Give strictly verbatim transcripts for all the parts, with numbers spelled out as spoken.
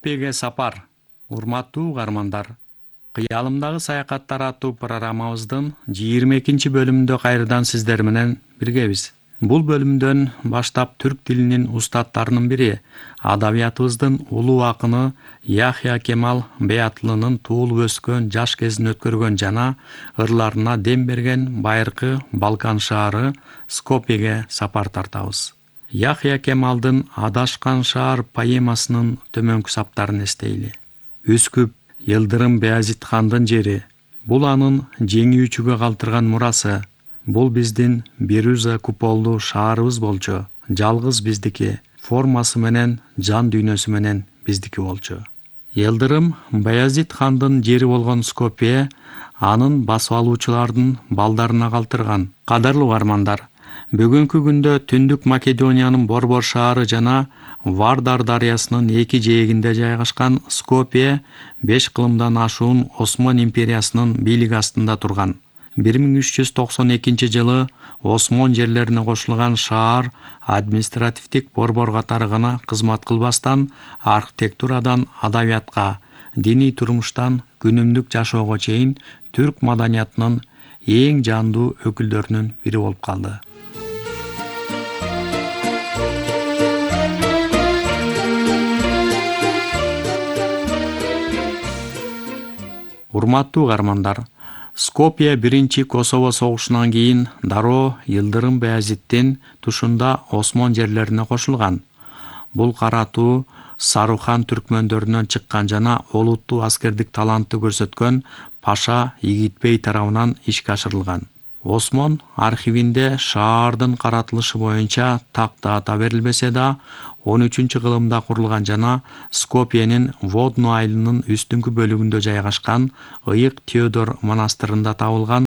Скопьеге сапар. Урматтуу угармандар, кыялымдагы саякаттар аттуу программабыздын жыйырма экинчи бөлүмүндө кайрадан сиздер менен биргебиз. Бул бөлүмдөн баштап түрк тилинин устаттарынын бири, адабиятыбыздын улуу акыны Яхья Кемал Бейатлынын туулуп өскөн, жаш кезин өткөргөн жана ырларына дем берген байыркы Балкан шаары Скопьеге сапар тартабыз. Яхья Кемалдын Адашкан шаар поэмасынын төмөнкү саптарын эстейли. Үскүп, Йылдырым Баязит хандын жери. Бул анын жеңүүчүгө калтырган мурасы. Бул биздин Беруза куполдуу шаарыбыз болчу. Жалгыз биздики, формасы менен, жан дүйнөсү менен биздики болчу. Йылдырым Баязит хандын жери болгон Скопье анын басып алуучулардын балдарына калтырган. Кадырлуу угармандар, бүгүнкү күндө Түндүк Македониянын Борбор шаары жана Вардар дарыясынын эки жээгинде жайгашкан Скопье беш кылымдан ашуун Осман империясынын бийлиги астында турган. бир миң үч жүз токсон экинчи жылы Осмон жерлерине кошулган шаар административдик борбор катары гана кызмат кылбастан, архитектурадан адабиятка, диний турмуштан күнүмдүк жашоого чейин түрк маданиятынын эң жандуу өкүлдөрүнүн бири болуп калды. Урматтуу угармандар, Скопье биринчи Косово согушунан кийин дароо Йылдырым Баязиттин тушунда Осмон жерлерине кошулган. Бул каратуу Сарухан түркмөндөрүнөн чыккан жана олуттуу аскердик талантты көрсөткөн Паша Игитбей тарабынан ишке ашырылган. Осмон архивинде шаардын каратылышы боюнча такты ата берилбесе да, он үчүнчү кылымда курулган жана Скопьенин Водно айылынын үстүңкү бөлүгүндө жайгашкан Ыйык Теодор монастырында табылган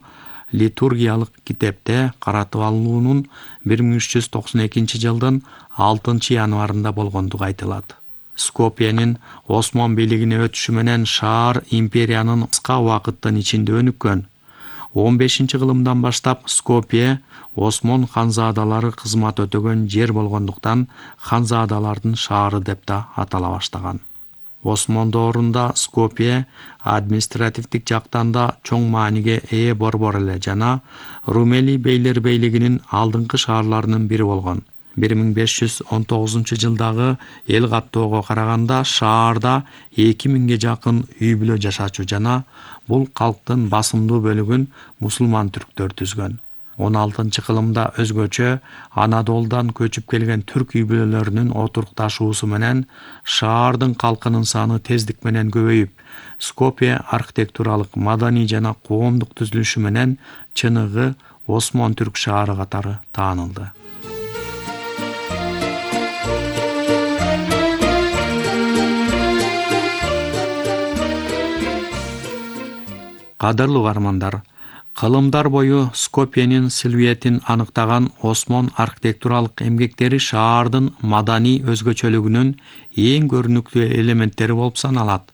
литургиялык китепте каратып алынуунун бир миң үч жүз токсон экинчи жылдын алтынчы январында болгондугу айтылат. Скопьенин Осмон бийлигине өтүшү менен шаар империянын кыска убакыттын ичинде өнүккөн. он бешинчи кылымдан баштап Скопье Осмон ханзаадалары кызмат өтөгөн жер болгондуктан ханзаадалардын шаары деп да атала баштаган. Осмон доорунда Скопье административдик жактан да чоң мааниге ээ борбор эле жана Румели бейлер бейлигинин алдыңкы шаарларынын бири болгон. бир миң беш жүз он тогузунчу жылдагы эл каттоого караганда шаарда эки миңге жакын үй бүлө жашачу жана бул калктын басымдуу бөлүгүн мусулман түрктөр түзгөн. он алтынчы кылымда өзгөчө Анадолудан көчүп келген түрк үй бүлөлөрүнүн отурукташуусу менен шаардын калкынын саны тездик менен көбөйүп, Скопье архитектуралык, маданий жана коомдук түзүлүшү менен чыныгы Осмон түрк шаары катары таанылды. Кадырлуу угармандар, кылымдар бою Скопьенин силуэтин аныктаган Осмон архитектуралык эмгектери шаардын маданий өзгөчөлүгүнүн эң көрүнүктүү элементтери болуп саналат.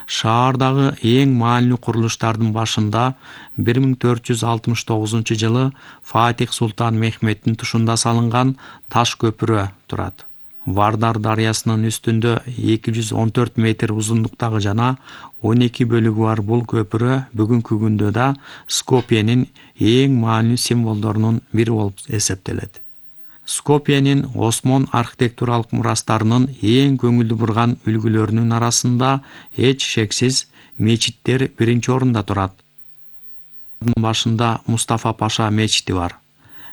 Шаардагы эң маанилүү курулуштардын башында бир миң төрт жүз алтымыш тогузунчу жылы Фатих Султан Мехметтин тушунда салынган таш көпүрө турат. Вардар дарыясынын үстүндө эки жүз он төрт метр узундуктагы жана он эки бөлүгү бар бул көпүрө бүгүнкү күндө да Скопьенин эң маанилүү символдорунун бири болуп эсептелет. Скопьенин Осмон архитектуралык мурастарынын эң көңүлдү бурган үлгүлөрүнүн арасында эч шексиз мечиттер биринчи орунда турат. Башында Мустафа Паша мечити бар.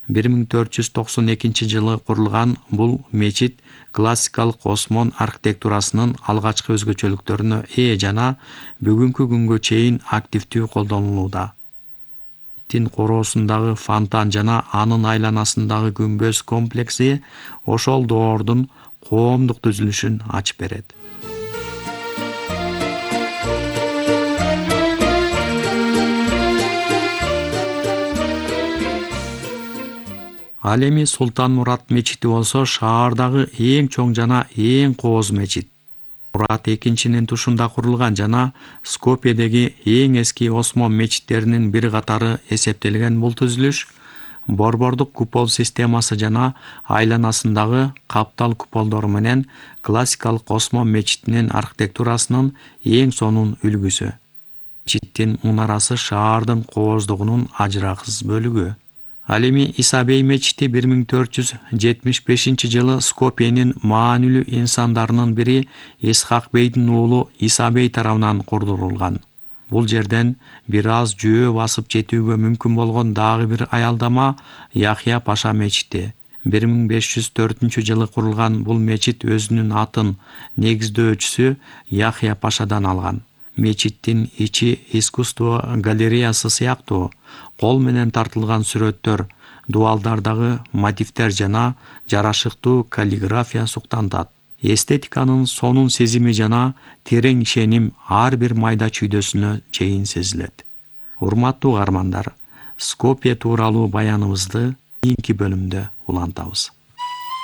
бир миң төрт жүз токсон экинчи жылы курулган бул мечит классикалык Осмон архитектурасынын алгачкы өзгөчөлүктөрүнө ээ жана бүгүнкү күнгө чейин активдүү колдонулууда. Тин короосундагы фонтан жана анын айланасындагы күмбөз комплекси ошол доордун коомдук түзүлүшүн ачып берет. Ал эми Султан Мурат мечити болсо шаардагы эң чоң жана эң кооз мечит. Мурат экинчинин тушунда курулган жана Скопьедеги эң эски Осмон мечиттеринин бири катары эсептелген бул түзүлүш борбордук купол системасы жана айланасындагы каптал куполдор менен классикалык Осмон мечитинин архитектурасынын эң сонун үлгүсү. Мечиттин мунарасы шаардын кооздугунун ажырагысыз бөлүгү. Ал эми Иса бей мечити бир миң төрт жүз жетимиш бешинчи жылы Скопьенин маанилүү инсандарынын бири Исхак бейдин уулу Иса бей тарабынан курдурулган. Бул жерден бир аз жөө басып жетүүгө мүмкүн болгон дагы бир аялдама Яхья Паша мечити. бир миң беш жүз төртүнчү жылы курулган бул мечит өзүнүн атын негиздөөчүсү Яхья Пашадан алган. Мечиттин ичи искусство галереясы сыяктуу кол менен тартылган сүрөттөр, дуалдардагы мотивдер жана жарашыктуу каллиграфия суктантат. Эстетиканын сонун сезими жана терең ишеним ар бир майда чүйдөсүнө чейин сезилет. Урматтуу каармандар, Скопье тууралуу баяныбызды кийинки бөлүмдө улантабыз.